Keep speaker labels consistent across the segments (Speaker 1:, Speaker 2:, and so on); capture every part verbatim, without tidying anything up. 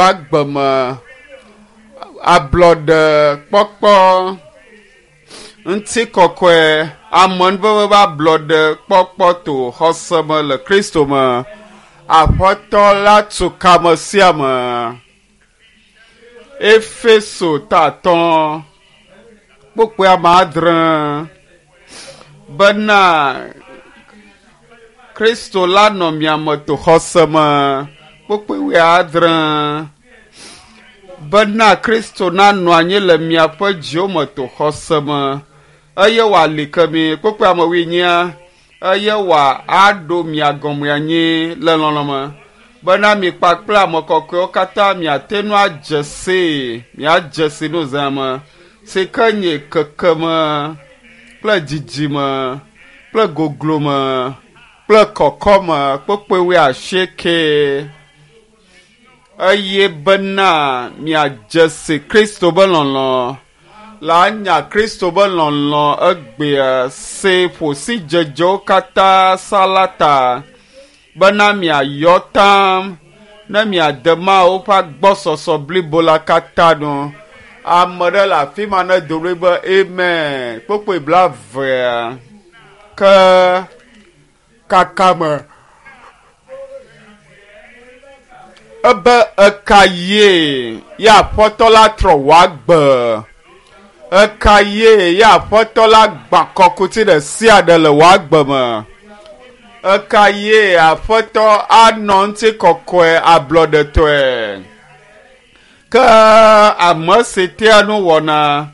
Speaker 1: Agbeme ablɔɖekpɔkpɔ ŋutikɔkɔe amenuveve ƒe ablɔɖekpɔkpɔ to xɔse me le Kristo me. Aƒetɔ la tu kame sia me. Efeso ta atɔ̃ kpukpui ame adre bena Kristo la nɔ mia me to xɔse me kpukpui wuiadre bena Kristo nanɔ anyi le miaƒe dziwo me to xɔse me eye wòali ke mi kpukpui ame wuinyia eye wòaɖo mia gɔme anyi le lɔlɔ̃ me bena mi kpakple ame kɔkɔewo katã miate ŋu adze sii miadze si nu zã me si ke nye kekeme kple dzidzime kple goglome kple kɔkɔme kpukpui wuiasieke eye bena miadze si Kristo be lɔlɔ̃ la anya Kristo be lɔlɔ̃ egbea si ƒo sidzedzewo katã sa la ta bena miayɔ tam ne miade Mawu ƒe agbɔsɔsɔ blibo la katã nu. Ame ɖe le afi ma ne do ɣli be amen. Kpukpui blaevea ke kakame ebe eka ye ye aƒetɔ la trɔ wòagbe eka ye ye aƒetɔ la gbã kɔkuti ɖe sia ɖe le wòagbe me eka ye aƒetɔ anɔ ŋutikɔkɔe ablɔɖetɔe ke ame si tea nu wɔna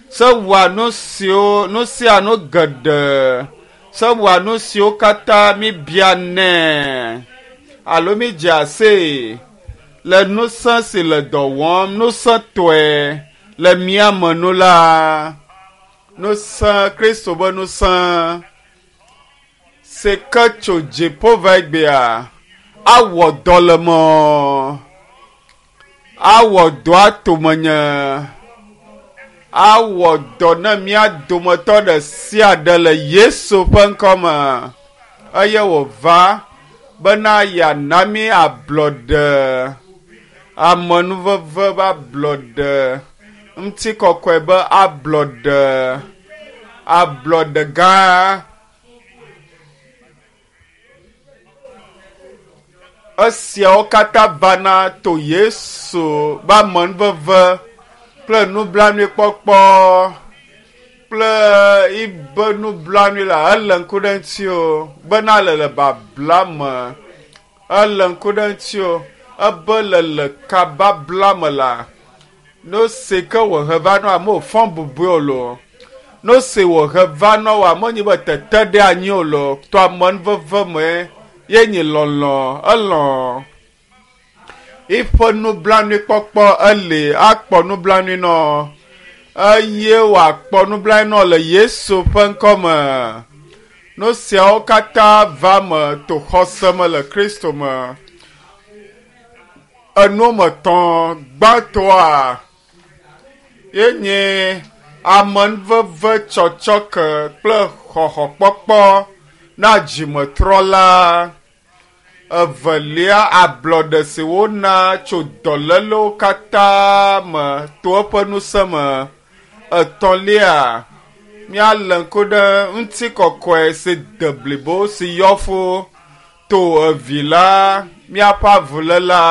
Speaker 1: se wɔa nu siwo nu sia nu geɖe se wɔa nu siwo katã mi bia nɛ alo mi dze asee le ŋusẽ si le dɔ wɔm ŋusẽtɔe le mía me nu la ŋusẽ Kristo be ŋusẽ si ke tso dziƒo va egbea awɔ dɔ le me awɔ dɔ atomenye awɔ dɔ ne mía dometɔ ɖe sia ɖe le Yesu ƒe ŋkɔme eye wòva bena yeana mí ablɔɖe amenuveve ƒe ablɔɖe ŋutikɔkɔe be ablɔɖe ablɔɖe gã esiawo katã vana to Yesu ƒe amenuveve kple nublanuikpɔkpɔ kple ibe nublanui la ele ŋku ɖe ŋuti o bena le le babla me ele ŋku ɖe ŋuti o ebe le le kababla me la no si ke wòhe va nɔ amewo fɔ bubui o lo no si wòhe va nɔ wo amewo nyi be tete ɖe anyi o lo to amenuveve me ye nyi lɔlɔ̃ elɔ̃ eƒe nublanuikpɔkpɔ eli akpɔ nublanui nɔ eye wòakpɔ nublanui nɔ le Yesu ƒe ŋkɔme. Nu siawo katã va me to xɔse me le Kristo me. Enu me tɔ̃ gbãtɔa ye nye amenuveve tsɔtsɔke kple xɔxɔkpɔkpɔ na dzimetrɔla. Evelia ablɔɖe si wona tso dɔlélewo katã me to eƒe ŋusẽ me. Etɔ̃lia míalé ŋku ɖe ŋutikɔkɔe si de blibo si yɔ fũ to evi la míaƒe avuléla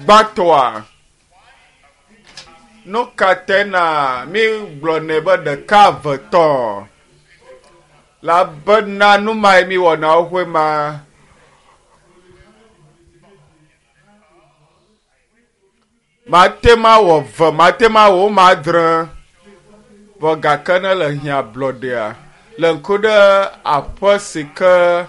Speaker 1: gbãtɔa. Nu ka tae na mi gblɔnɛ be ɖeka eve tɔ̃ elabena nu mae mi wɔna xoxoe ma. Mate ma wɔ ve, mate ma wɔ wo ma adre vɔ gake ne le hiã ablɔɖea le ŋku ɖe aƒe si ke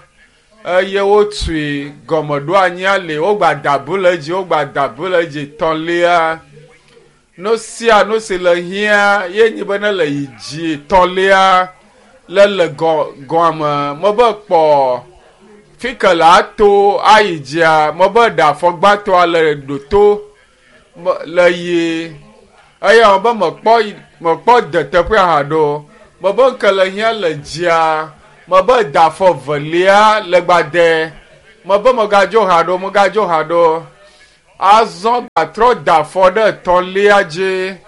Speaker 1: eye wotui gɔmeɖoanyia li wogba da bu le edzi wogba da bu le edzi tɔ̃lia nu sia nu si le hiã ye nyi be ne le yi dzi tɔ̃lia le le gɔ gɔme mebe kpɔ fi ke le ato ayi dzia mebe ɖe afɔgbãtɔa le ɖoto le yi eye be mekpɔ mekpɔ de teƒea hã ɖo mebe ŋke le hiã le dzia mebe da afɔ velia le gbadɛ mebe megadzo hã ɖo megadzo hã ɖo Azɔ gatrɔ da afɔ ɖe etɔ̃lia dzi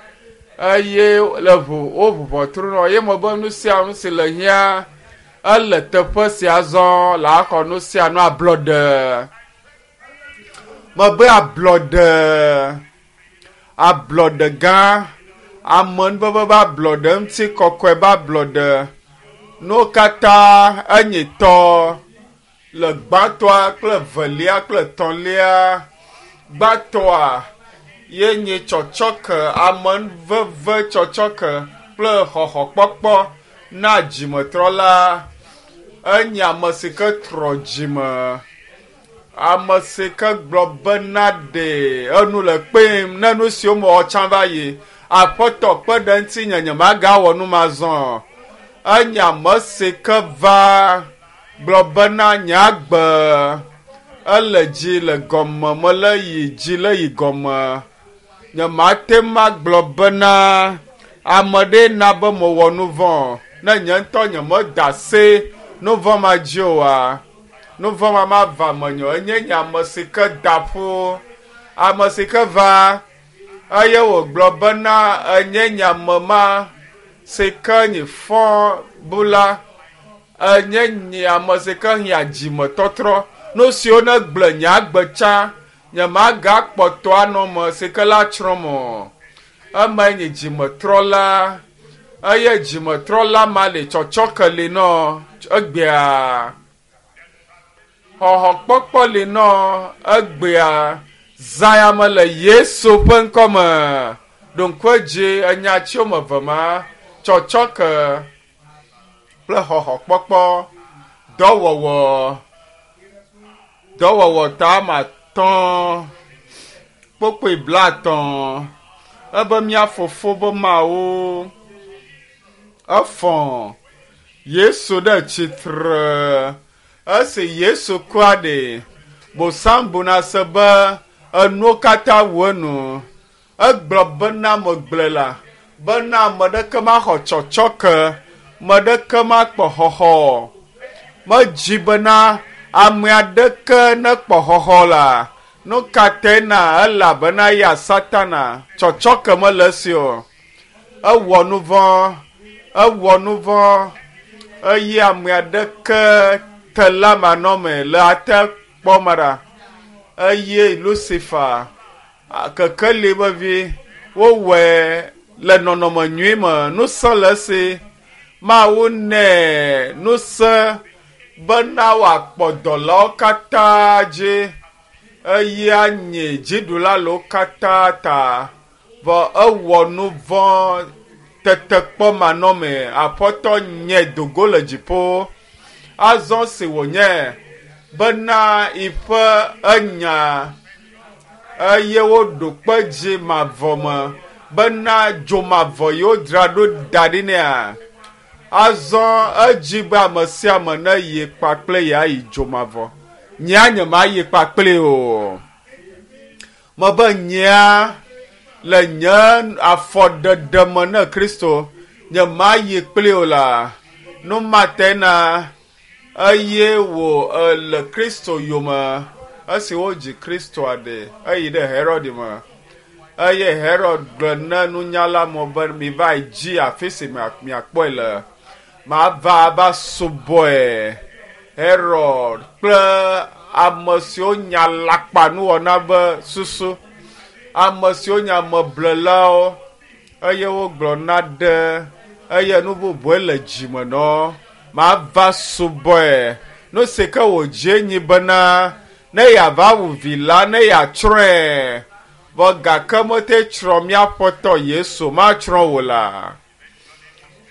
Speaker 1: eye le ʋu woʋu ʋɔtru nɔ ye me be nu sia nu si le hiã ele teƒe sia zɔ le axɔ nu sia nu ablɔɖe. Mebe ablɔɖe, ablɔɖe gã, amenuveve be ablɔɖe, ŋutikɔkɔe be ablɔɖe. Nuwo katã enye tɔ le gbãtɔa kple velia kple etɔ̃lia. Gbãtɔa ye nye tsɔtsɔke, amenuveve tsɔtsɔke kple xɔxɔkpɔkpɔ na dzimetrɔla. Enye ame si ke trɔ dzime, ame si ke gblɔ bena ɖe enu le kpem ne nu siwo mewɔ tsã va yi. Aƒetɔ kpe ɖe ŋutinye nyemagawɔ nu ma zɔ. Enye ame si ke va gblɔ bena nye agbe ele dzi le gɔme mele yi dzi le yi gɔme. Nyemate ŋu agblɔ bena ame ɖe na be mewɔ nu vɔ̃ ne nye ŋutɔ nyemeda se nu vɔ̃ ma dzi oa. Nu vɔ̃ ma mava menye o. Enye nye ame si ke da ƒu, ame si ke va eye wògblɔ bena enye nye ame ma si ke nye fɔ bula, enye nye ame si ke hiã dzimetɔtrɔ. Nu siwo ne gblẽ nye agbe tsã nyemagakpɔtɔ anɔ me si ke la tsrɔ̃m o. Emae nye dzimetrɔla eye dzimetrɔla ma le tsɔtsɔke li nɔ egbea. Xɔxɔkpɔkpɔ li nɔ egbea. Zã me le Yesu ƒe ŋkɔme. Ɖo ŋku edzi enya tsi woame eve ma, tsɔtsɔke kple xɔxɔkpɔkpɔ, dɔwɔwɔ, dɔwɔwɔ ta ame atɔ̃, kpokpoe blaetɔ̃. Ebe mía fofo be Mawu efɔ Yesu ɖe tsitre. Esi Yesu kua ɖe, Bosam buna se be enuwo katã wu enu. Egblɔ bena megblɔe la, bena ame ɖeke maxɔ tsɔtsɔke, ame ɖeke makpɔ xɔxɔ. Medzi bena ame aɖeke nekpɔ xɔxɔ la. Nu ka tae na elabena ya Satana tsɔtsɔke mele esi o. Ewɔ nu vɔ̃, ewɔ nu vɔ̃ eye ame aɖeke te la manɔme le ate kpɔ me ɖa. Eye Lucifer, kekeli be vi, wowɔe le nɔnɔme nyui me. Ŋusẽ le esi. Mawu nɛ ŋusẽ bena wòakpɔ dɔlawo katã dzi eye anye dziɖula le wo katã ta. Vɔ ewɔ nu vɔ̃ tetekpɔ manɔme. Aƒetɔ nye dogo le dziƒo. Azɔ si wònye bena yiƒe enya eye woɖo kpe dzi mavɔ me bena dzo mavɔ yi wodzra ɖo da ɖi nɛa. Azɔ edzi be ame sia ame ne yi kpakple yeayi dzo mavɔ. Nyea nyemayi kpakple o. Mebe nyea le nye afɔɖeɖe me ne Kristo nyemayi kpli o la. Nu ma tae na eye wò le Kristo yome. Esi wodzi Kristoa ɖe, eyi ɖe Herod me. Eye Herod gblɔ ne nunyala mɔ be miva yi dzi afi si miakpɔe le. Mava ava subɔe. Herod kple ame siwo nya alakpanuwɔna be susu, ame siwo nya ameblelawo eye wogblɔ na ɖe eye nu bubue le dzime nɔ. Mava subɔe. Nu si ke wòdze nyi bena ne yeava wu vi la, ne yeatsrɔ̃e. Vɔ gake mete tsrɔ̃ mía Aƒetɔ Yesu, matsrɔ̃ wò la.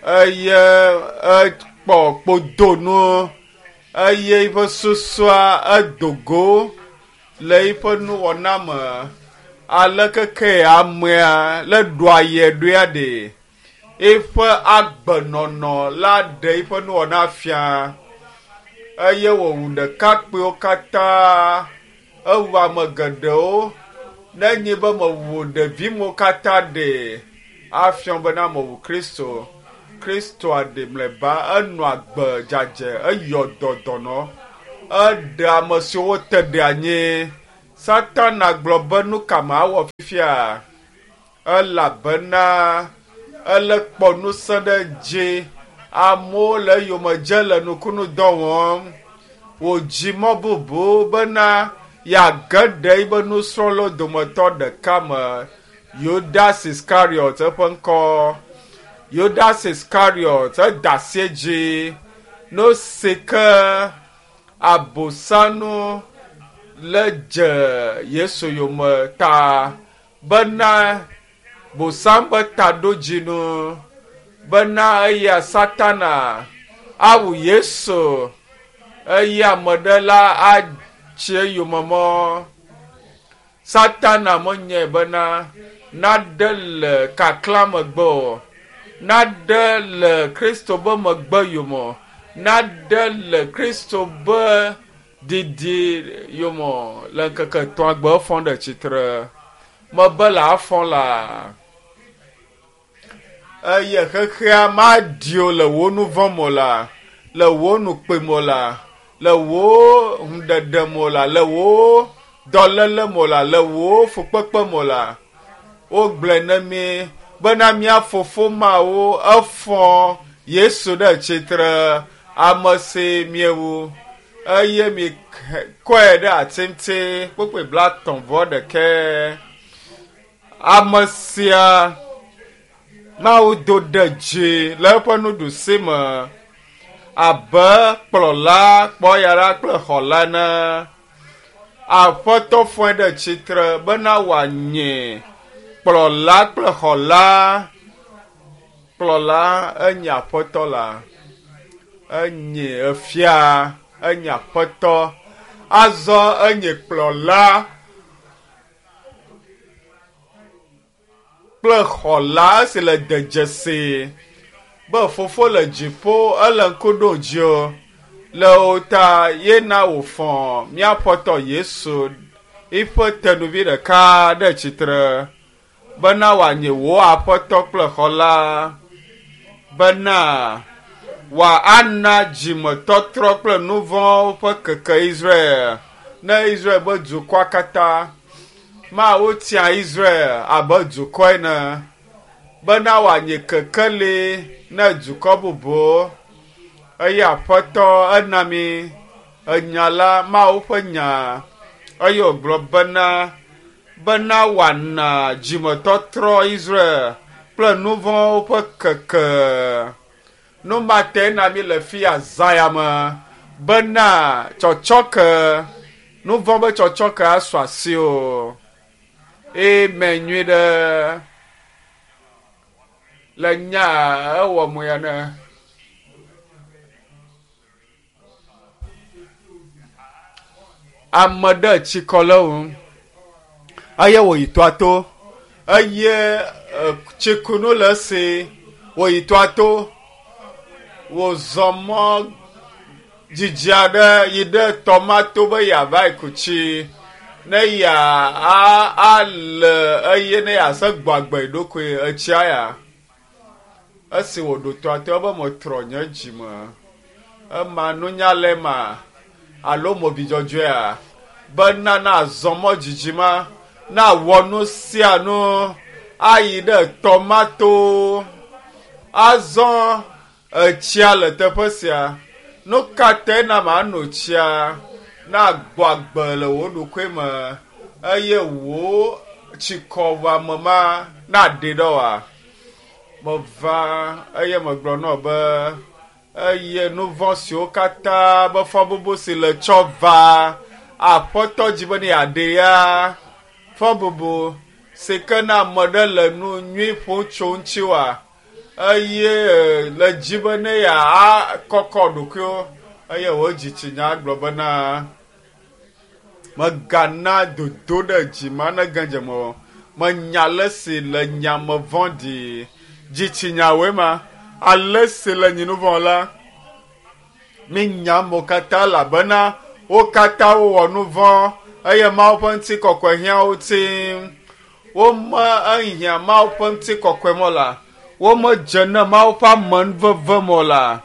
Speaker 1: Eye ekpɔ kpodonu eye eƒe susua edo go le eƒe nuwɔna me. Aleke ke amea le ɖoa ye ɖoea ɖe, eƒe agbenɔnɔ la ɖe eƒe nuwɔna fia. Eye wòwu ɖekakpuiwo katã, ewu ame geɖewo. Ne nye be mewu ɖeviwo katã ɖe, afia bena mewu Kristo. Kristoa ɖe mlɔeba, enɔ agbe dzadzɛ, eyɔ dɔ dɔnɔ, eɖe ame siwo wote ɖe anyi. Satana gblɔ be nu ka mawɔ fifia? Elabena ele kpɔ ŋusẽ ɖe dzi. Amewo le eyome dze le nukunu dɔ wɔm. Wòdzi mɔ bubu bena yeage ɖe yibe nusrɔ̃lawo dometɔ ɖeka me. Yudas Iskariot eƒe ŋkɔ. Yudas Iskariot eda asi edzi. Nu si ke abosanu le dze Yesu yome ta bena bosam be taɖodzinu bena eya Satana awu Yesu eye ame ɖe la atsi eyome mɔ. Satana menyae bena naɖe le kaklã megbe o, naɖe le Kristo be megbe yome o, naɖe le Kristo be didi yome o. Le ŋkeke etɔ̃a gbe efɔ ɖe tsitre. Mebe le afɔ la. Eye xexea maɖi o le wò nu vɔ̃ me o la, le wò nukpe me o la, le wò ŋuɖeɖe me o la, le wò dɔléle me o la, le wò fukpekpe me o la. Wogblɔe ne mi bena mía fofo Mawu efɔ Yesu ɖe tsitre, ame si miewu eye mi kɔe ɖe ati ŋuti kpukpui blaetɔ̃ vɔ ɖekɛ. Ame sia Mawu do ɖe dzi le eƒe nuɖusi me abe kplɔla, kpɔyara kple xɔla ene. Aƒetɔ fɔe ɖe tsitre bena wòanye kplɔla kple xɔla. Kplɔla enye aƒetɔ la, enye efia, enye aƒetɔ. Azɔ enye kplɔla kple xɔla esi le dedzesi be fofo le dziƒo ele ŋku ɖom dziwò le wò ta ye na wòfɔ mía Aƒetɔ Yesu eƒe tenuvi ɖeka ɖe tsitre bena wòanye wò aƒetɔ kple xɔla, bena wòana dzimetɔtrɔ kple nu vɔ̃wo ƒe keke Israel ne Israel be dukɔa katã. Mawu tia Israel abe dukɔ ene bena wòanye kekeli ne dukɔ bubu. Eye Aƒetɔ ena mi enya la, Mawu ƒe nya. Eye wògblɔ bena bena wòana dzimetɔtrɔ Israel kple nu vɔ̃wo ƒe keke. Nu ma te na mi le fia zã ya me bena tsɔtsɔke, nu vɔ̃ be tsɔtsɔke asu asiwò. Amen nyui ɖe. Le nya ewɔ mo ya ne. Ame ɖe tsikɔ le ŋu eye wòyi toa to eye tsikunu le esi wòyi toa to wòzɔ mɔ dzidzi aɖe yi ɖe tɔma to be yeava yi ku tsi ne ya ale eye ne yease gbɔ agbe ɖokui etsia ya. Esi wòɖo toa to ebe metrɔ nye dzime. Ema nunya le ema alo movi dzɔdzɔea bena nazɔ mɔ dzidzi ma nawɔ nu sia nu ayi ɖe tɔma to. Azɔ etsia le teƒe sia. Nu ka te na mano tsia na gbɔ agbe le wò ɖokui me eye wò tsikɔwɔame ma naɖe ɖe oa? Meva eye megblɔ nɔ be eye nu vɔ̃ siwo katã be fɔbubu si le tsɔ va Aƒetɔ dzi be ne yeaɖe ya fɔbubu si ke na ame ɖe le nu nyui ƒom tso ŋuti oa eye le dzi be ne yeakɔkɔ ɖokuiwo eye wò dzitsinya gblɔ bena megana dodo ɖe dzi ma ne ge dze me o. Menya ale si le nyame vɔ̃ɖi. Dzitsinyawoe ma ale si le nyi nu vɔ̃ la. Mi nya amewo katã elabena wo katã wowɔ nu vɔ̃ eye Mawu ƒe ŋutikɔkɔe hiã wo ti. Wome ehiã Mawu ƒe ŋutikɔkɔe mɔ la. Womedze ne Mawu ƒe amenuveve mɔ la.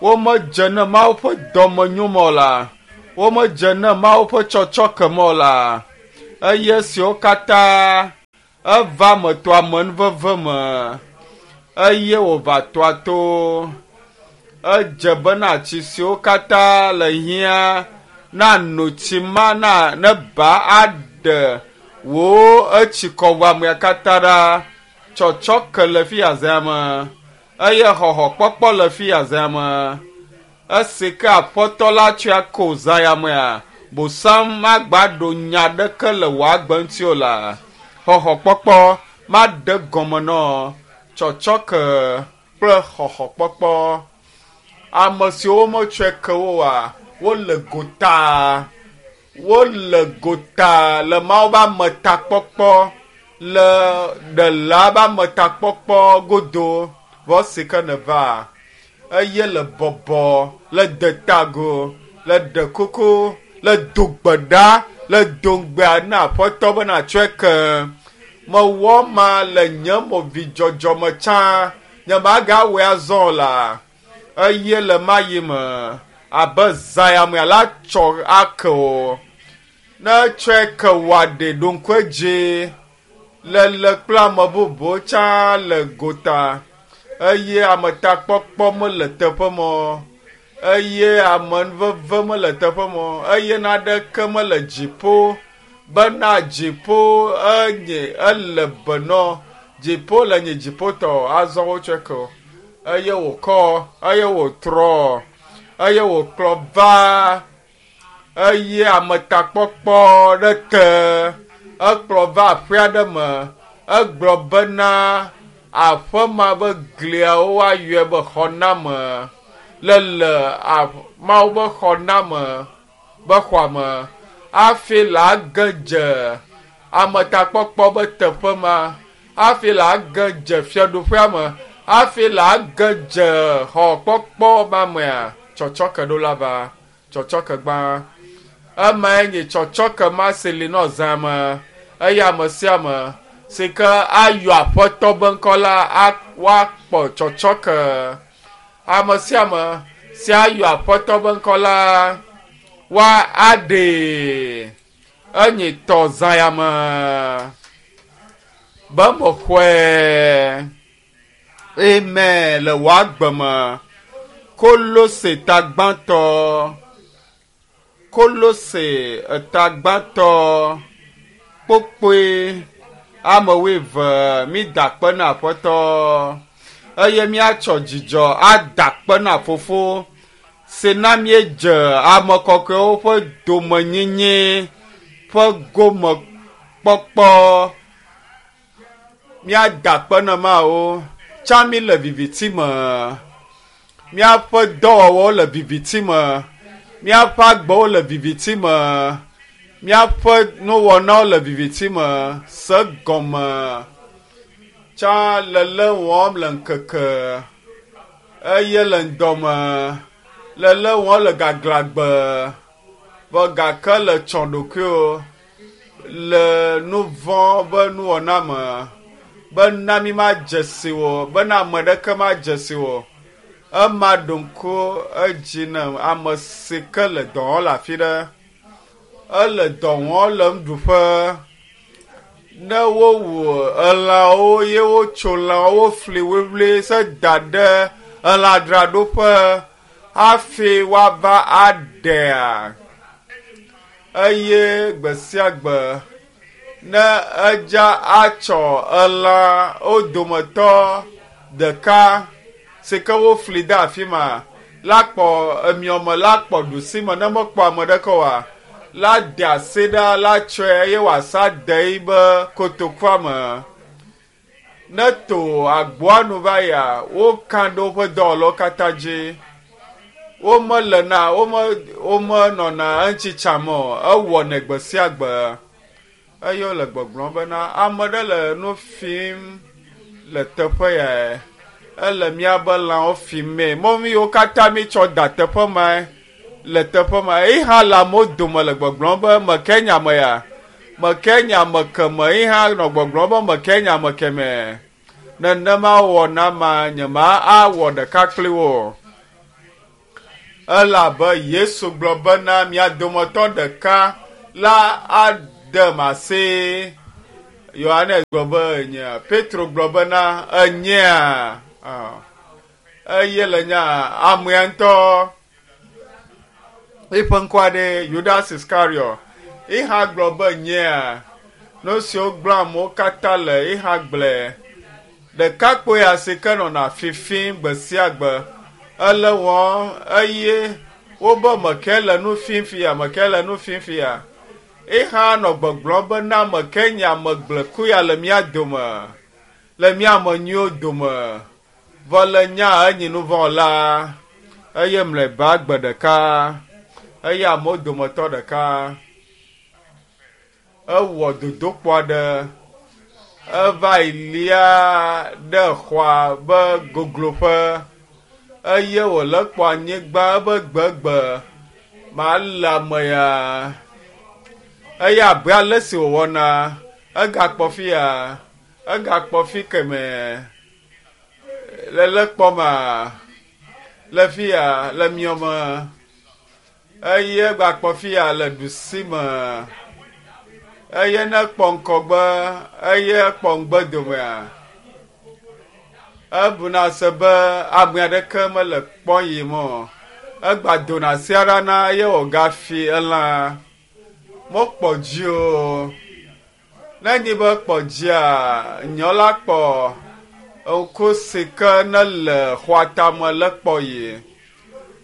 Speaker 1: Womedze ne Mawu ƒe dɔmenyo mɔ la. Womedze ne Mawu ƒe tsɔtsɔke mɔ la. Eye siwo katã eva me to amenuveve me eye wòva toa to. Edze bena tsi siwo katã le hiã na no tsi ma na ne ba aɖe wò etsi kɔwɔamea katã ɖa. Tsɔtsɔke le fi azã me eye xɔxɔkpɔkpɔ le fi azã me. Esi ke aƒetɔ la tsɔe ko zã ya mea, bosam magba ɖo nya ɖeke le wò agbe ŋuti o la. Xɔxɔkpɔkpɔ maɖe gɔme nɔ tsɔtsɔke kple xɔxɔkpɔkpɔ. Ame siwo metsɔe ke wo oa, wole gota. Wole gota le Mawu ƒe ametakpɔkpɔ le ɖela ƒe ametakpɔkpɔ godo. Vɔ si ke neva eye le bɔbɔ, le detago, le ɖe kuku, le do gbe ɖa, le do ŋugbea na aƒetɔ be natsɔe ke. Mewɔ ma le nye movidzɔdzɔ me tsã, nye magawɔe azɔ o la. Eye le ma yi me abe zã ya mea la tsɔ ake o. Ne tsɔe ke wòaɖe ɖo ŋku edzi le le kple ame bubuwo tsã le gota eye ametakpɔkpɔ mele teƒe ma o eye amenuveve mele teƒe ma o eye naneke mele dziƒo bena dziƒo enye ele benɔ dziƒo le nye dziƒotɔ azɔ wotsɔe ke o eye wòkɔ eye wòtrɔ eye wòkplɔ va eye ametakpɔkpɔ ɖe te ekplɔ va aƒe aɖe me egblɔ bena aƒe ma be gliawo woayɔe be xɔname le le Mawu be xɔname be xɔa me hafi la ge dze ametakpɔkpɔ be teƒe ma hafi la ge dze fiaɖuƒea me hafi la ge dze xɔkpɔkpɔ ma mea tsɔtsɔke ɖo la va tsɔtsɔke gbã. Emae nye tsɔtsɔke ma si li nɔ zã me eye ame sia ame si ke ayɔ aƒetɔ be ŋkɔ la woakpɔ tsɔtsɔke. Ame sia ame si ayɔ aƒetɔ be ŋkɔ la woa aɖee. Enye tɔ zã ya me be mexɔe. Amen le wò agbe me. Kolose ta gbãtɔ. Kolose eta gbãtɔ kpokpoe ame wuieve mi da akpe na aƒetɔ eye míatsɔ dzidzɔ ada akpe na fofo si na míedze ame kɔkɔewo ƒe domenyinyi ƒe gomekpɔkpɔ. Míada akpe na Mawu. Tsã mi le viviti me. Míaƒe dɔwɔwɔwo le viviti me. Míaƒe agbewo le viviti me. Míaƒe nuwɔnawo le viviti me. Se gɔme. Tsã le lé wɔm le ŋkeke eye le ŋdɔme. Le lé wɔm le gaglãgbe. Vɔ gake le tsɔ ɖokuiwo le nu vɔ̃ be nuwɔna me bena mi madze si wo, bena ame ɖeke madze si wo. Ema ɖo ŋku edzi ne ame si ke le dɔ wɔm le afi ɖe. Ele dɔ wɔm le nuɖuƒe. Ne wowu elãwo ye wotso lãwo wofli wliwli se da ɖe elãdzraɖoƒe hafi woava aɖea. Eye gbe sia gbe ne edza atsɔ elã wo dometɔ ɖeka si ke wofli de afi ma la kpɔ emiɔme la kpɔ ɖusime ne mekpɔ ame ɖeke oa la de asi ɖa la tsɔe eye wòasa de yi be kotokua me. Ne to agboa nu va yia, woka ɖe woƒe dɔwɔlawo katã dzi. Womelena wome womenɔna eŋuti tsam o. Ewɔnɛ gbe sia gbe. Eye wole gbɔgblɔm bena ame ɖe le nu fim le teƒe ya. Ele míabe lãwo fimee. Mɔmi yiwo katã mítsɔ da teƒe mae le teƒe ma. Eyi hã le amewo dome le gbɔgblɔm be meke nye ame ya. Meke nye ame keme. Eyi hã nɔ gbɔgblɔm be meke nye ame keme. Nenema wɔna ma nye ma awɔ ɖeka kpli wo. Elabe Yesu gblɔ bena mia dometɔ ɖeka la dem asi. Yohanes gblɔ be enyea. Petro gblɔ bena enyea. Eye le nya amea ŋutɔ eƒe ŋkɔa ɖe Judas Iscariot. Eha gblɔ be nyea. Nu siwo gblɔ amewo katã le eha gblɔe. Ɖekakpui ya si ke nɔna fifim gbe sia gbe ele wɔm eye wobe meke le nu fim fia, meke le nu fim fia. Eha nɔ gbɔgblɔm be na meke nye ame gblẽku ya le mía dome, le mía ame nyuiwo dome. Vɔ le nya enyi nu vɔ̃ la eye mlɔeba gbe ɖeka eye amewo dometɔ ɖeka ewɔ dodokpɔ aɖe. Eva yi lia ɖe xɔa be gogloƒe eye wòle kpɔ anyigba ebe gbegbe ma le ame ya. Eye abe ale si wòwɔna egakpɔ fi ya, egakpɔ fi kemɛ le le kpɔma le fi ya le miɔme eye egakpɔ fi ya le ɖusime. Eye ne kpɔ ŋkɔgbe eye kpɔ ŋgbe domea ebuna se be ame aɖeke mele kpɔ yim o. Egba dona asi ɖa na eye wògafi elã. Mekpɔ dzi o. Ne nyi be kpɔ dzia, nyɔ la kpɔ ŋku si ke ne le xɔa tame le kpɔ yi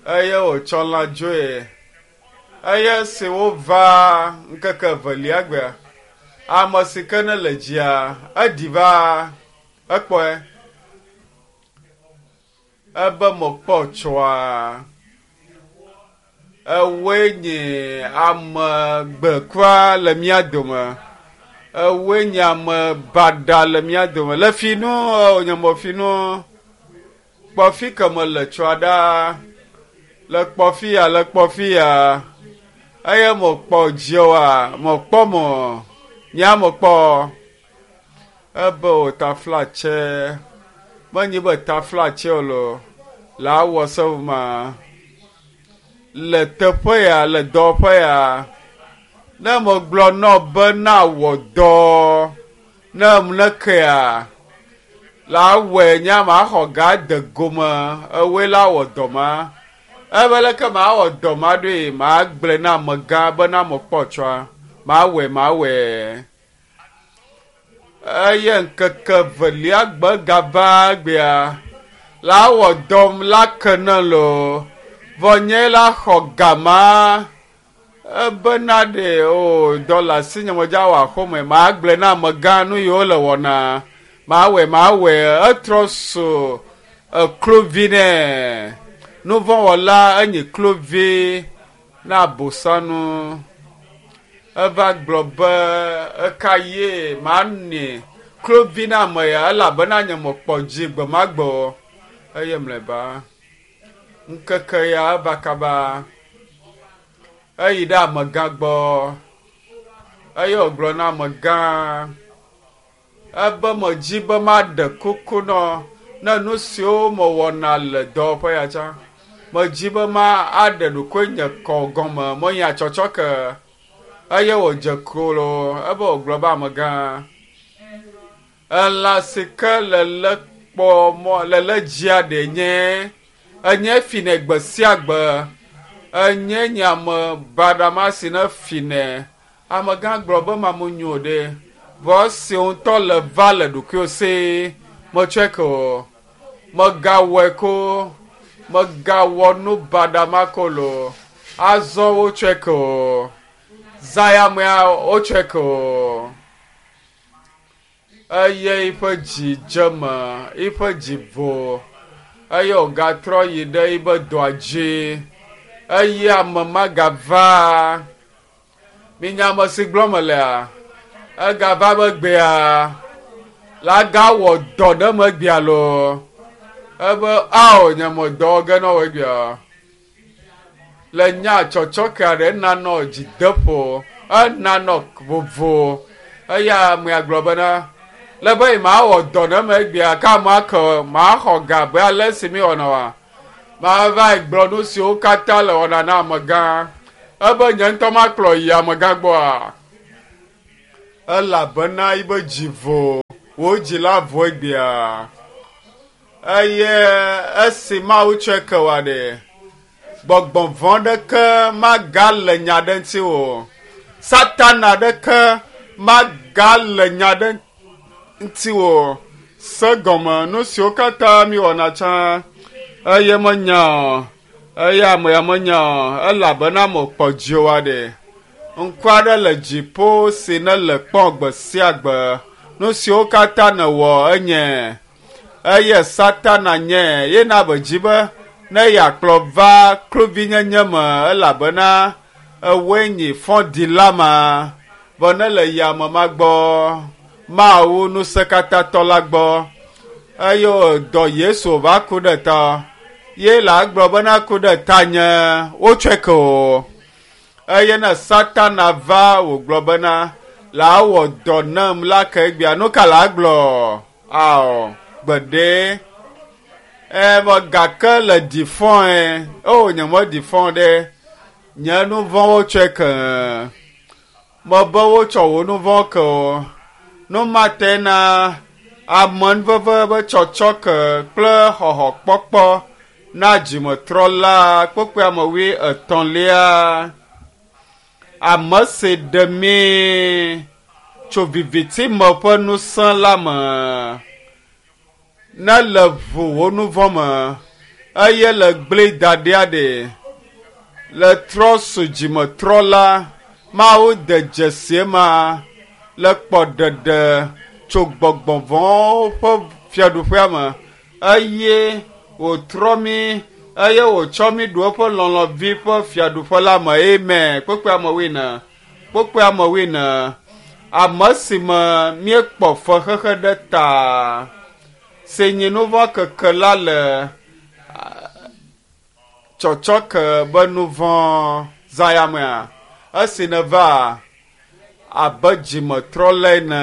Speaker 1: eye wòtsɔ lã dzoe. Eye si wova ŋkeke evelia gbea, ame si ke ne le dzia, eɖi va ekpɔe. Ebe mekpɔ tsɔa. Ewoe nye ame gbekua le mía dome. Ewoe nye ame baɖa le mía dome. Le fi nu, nye me fi nu. Kpɔ fi ke me le tsɔa ɖa. Le kpɔ fi ya, le kpɔ fi ya. Eye mekpɔ dzioa, mekpɔ mɔ. Nya mekpɔ. Ebe o taflatse. Menyi be taflatse o lo. La wɔ se ma. Le teƒe ya, le dɔwɔƒe ya. Ne megblɔ nɔ be na wɔ dɔ, ne nekea, la wɔe nye ma xɔ ga de gome, ewoe la wɔ dɔ ma. Ebe leke ma wɔ dɔ ma ɖoe, ma gblɔe na amegã be na mekpɔ tsɔa. Ma wɔe, ma wɔe. Eye ŋkeke evelia gbe gava gbea, la wɔ dɔm la ke ne lo. Vɔ nye la xɔ gama. Ebena ɖe o dɔla si nye medza wɔ axome ma gblɔe na amegã nu yiwo le wɔna. Ma wɔe, ma wɔe. Etrɔ so eklovi nɛ. Nuvɔ̃wɔla enyi klovi na abosanu. Eva gblɔ be eka ye ma nɛ klovi na ame ya elabena nye mekpɔ dzi gbe ma gbe o. Eye mlɔeba ŋkeke ya eva kaba. Eyi ɖe amegã gbɔ eye wògblɔ na amegã ebe medzi be maɖe kuku nɔ ne nu siwo mewɔna le dɔwɔƒe ya tsã. Medzi be ma aɖe ɖokuinye kɔ gɔme menya tsɔtsɔ ke eye wòdze klo ebe wògblɔ be amegã elã si ke le le kpɔ mɔ le le dzia ɖe nye enye finɛ gbe sia gbe. Enye nye ame baɖa ma si ne finɛ. Amegã gblɔ be mamu nyo ɖe. Vɔ esi ŋutɔ le va le ɖokuiwò si metsɔe ke o. Megawɔe ko. Megawɔ nu baɖa ma ko lo. Azɔ wotsɔe ke o. Zã ya mea wotsɔe ke o. Eye eƒe dzi dze eme, eƒe dzi vo eye wògatrɔ yi ɖe eƒe dɔa dzi. Eye ame ma gava. Minya ame si gblɔm melea? Egava megbea. La gawɔ dɔ ɖe megbea loo. Ebe ao nye me dɔ ge na wò egbea. Le nya tsɔtsɔke aɖe enanɔ dzideƒo, enanɔ vovo. Eye amea gblɔ bena le be mawɔ dɔ ɖe megbea ke amea ke maxɔ ga abe ale si mi wɔna oa. Mava gblɔ nu siwo katã le wɔna na amegã. Ebe nye ŋutɔ makplɔ yi amegã gbɔa. Elabena yibe dzi vo, wò dzi la vo egbea. Eye esi Mawu tsɔe ke wòa ɖe, gbɔgbɔ vɔ̃ ɖeke magale nya ɖe ŋuti o. Satana ɖeke magale nya ɖe ŋuti o. Se gɔme nu siwo katã miwɔna tsã eye menya o, eye ame ya menya o, elabena mekpɔ dziwòa ɖe. Ŋku aɖe le dziƒo si ne le kpɔm gbe sia gbe. Nu siwo katã nèwɔ enye eye Satana nye ye na be dzi be ne yeakplɔ va kluvinyenye me elabena ewoe nyi fɔɖila ma vɔ ne le yame ma gbɔ Mawu ŋusẽkatãtɔ la gbɔ eye wòdɔ Yesu va ku ɖe ta ye la gblɔ bena ku ɖe tanye wotsɔe ke o eye ne Satana va wògblɔ bena la wɔ dɔ nam la ke egbea nu ka la gblɔ ao gbeɖe ɛ gake le ɖi fɔe o nye meɖi fɔ ɖe nye nu vɔ̃wo tsɔe ke mebe wotsɔ wò nu vɔ̃ ke o nu ma te na amenuveve be tsɔtsɔ ke kple xɔxɔkpɔkpɔ na dzimetrɔla kpekpe ame wui etɔ̃lia ame si ɖe mí tso viviti me ƒe ŋusẽ la me ne le ʋu wò nu vɔ̃ me eye le gblẽ da ɖia ɖe le trɔ su dzimetrɔla Mawu de dzesi ma le kpɔ ɖeɖe tso gbɔgbɔ vɔ̃wo ƒe fiaɖuƒea me eye wòtrɔ mí eye wòtsɔ mí ɖo eƒe lɔlɔ̃vi ƒe fiaɖuƒe la me amen kpekpe ame wuiene kpekpe ame wuiene ame si me míekpɔ fexexe ɖe ta si nyi nu vɔ̃ keke la le tsɔtsɔke be nu vɔ̃ zã ya mea esi neva abe dzimetrɔla ene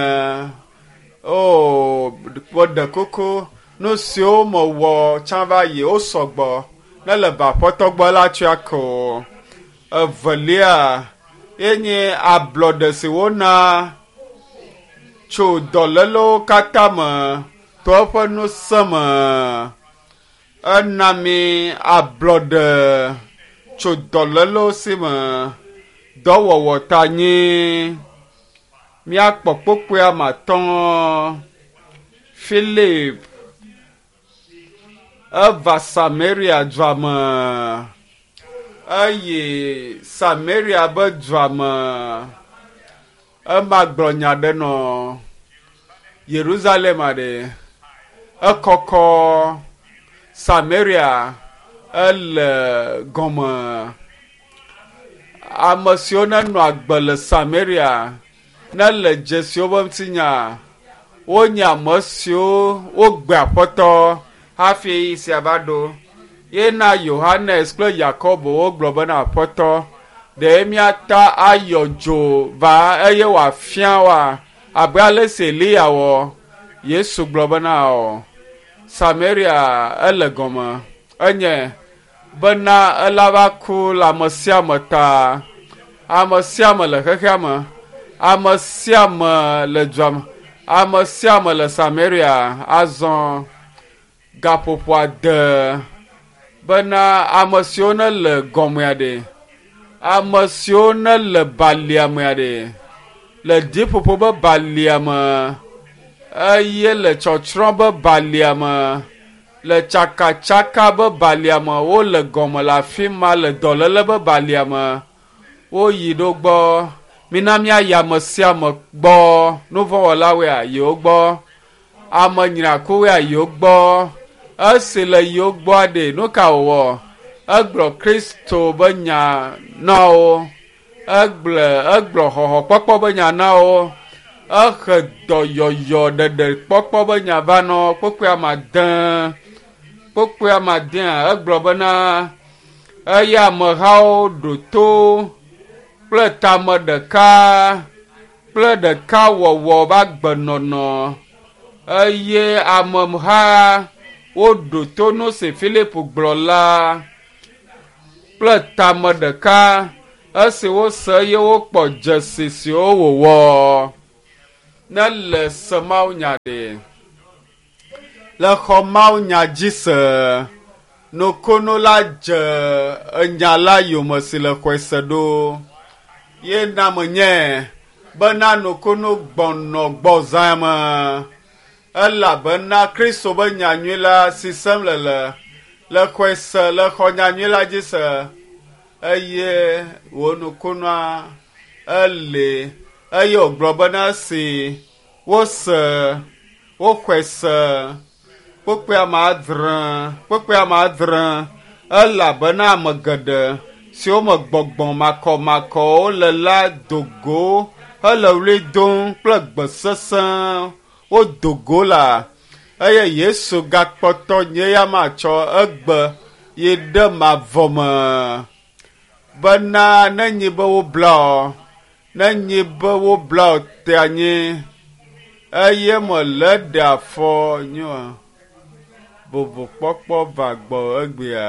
Speaker 1: o ɖe kuku nu siwo mewɔ tsã va yi wo sɔgbɔ ne le va aƒetɔ gbɔ la tsɔe ke o evelia ye nye ablɔɖe si wona tso dɔlélewo katã me to eƒe ŋusẽ me ena mi ablɔɖe tso dɔlélewo si me dɔwɔwɔ ta nyi míakpɔ kpokpoe ame atɔ̃ Philip eva Samaria dua me eye Samaria be dua me ema gblɔ nya ɖe nɔ Yerusalem aɖe ekɔkɔ Samaria ele gɔme ame siwo nenɔ agbe le Samaria ne le dzesiwo be ŋutinya wonye ame siwo wogbe aƒetɔ hafi sia va ɖo ye na Yohanes kple Yakobo wogblɔ bena aƒetɔ ɖe míata ayɔ dzo va eye wòafia woa abe ale si Eliya wɔ Yesu gblɔ bena o Samaria ele gɔme enye bena ela va ku le ame sia ame ta ame sia ame le xexea me ame sia ame le dua me ame sia ame le Samaria azɔ gaƒoƒo ade bena ame siwo ne le gɔmea ɖe ame siwo ne le balia mea ɖe le dziƒoƒo be balia me eye le tsɔtsrɔ̃ be balia me le tsakatsaka be balia me wole gɔme le afi ma le dɔléle be balia me woyi ɖo gbɔ mina míayi ame sia ame gbɔ nuvɔ̃wɔlawoea yi wo gbɔ ame nyrakuwoea yi wo gbɔ esi le yi wo gbɔa ɖe nu ka wòwɔ egblɔ Kristo be nya na wo egblɔ egblɔ xɔxɔkpɔkpɔ be nya na wo ehe dɔyɔyɔ ɖeɖe kpɔkpɔ be nya va nɔ kpokpoe ame ade kpokpoe ame adea egblɔ bena eye amehawo ɖo to kple tame ɖeka kple ɖekawɔwɔ be agbenɔnɔ eye ameha woɖo to nu si Philip gblɔ la kple tame ɖeka esi wose eye wokpɔ dzesi siwo wòwɔ. Ne le se Mawu nya ɖe. Le xɔ Mawu nya dzi se. Nukunu la dze enya la yome si le xɔe se ɖo. Ye na menye bena nukunu gbɔnɔ gbɔ zã me. Elabena Kristo be nyanyui la si sem le le le xɔe se le xɔ nyanyui la dzi se eye wò nukunua ele eye wògblɔ bena si wose woxɔe se kpukpui ame adre kpukpui ame adre elabena ame geɖe siwo me gbɔgbɔ makɔmakɔwo le la do go hele ɣli dom kple gbe sesẽ wodo go la eye Yesu gakpɔtɔ nye ya matsɔ egbe yi ɖe mavɔ me bena nenyi be wobla o nenyi be wobla o te anyi eye mele ɖe afɔ nyo vovokpɔkpɔ va gbɔ egbea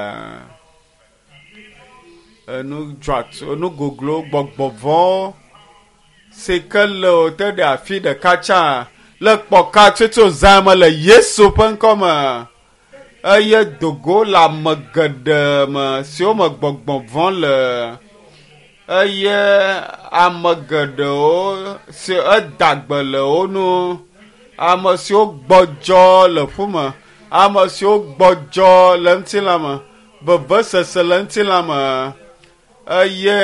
Speaker 1: enu dzɔatsu enu goglo gbɔgbɔ vɔ̃wo si ke le o te ɖe afi ɖeka tsã le kpɔka tutu zã me le Yesu ƒe ŋkɔme eye dogo le ame geɖe me siwo me gbɔgbɔ vɔ̃ le eye ame geɖewo si eda gbe le wo nu ame siwo gbɔdzɔ le ƒume ame siwo gbɔdzɔ le ŋutilã me vevesese le ŋutilã me eye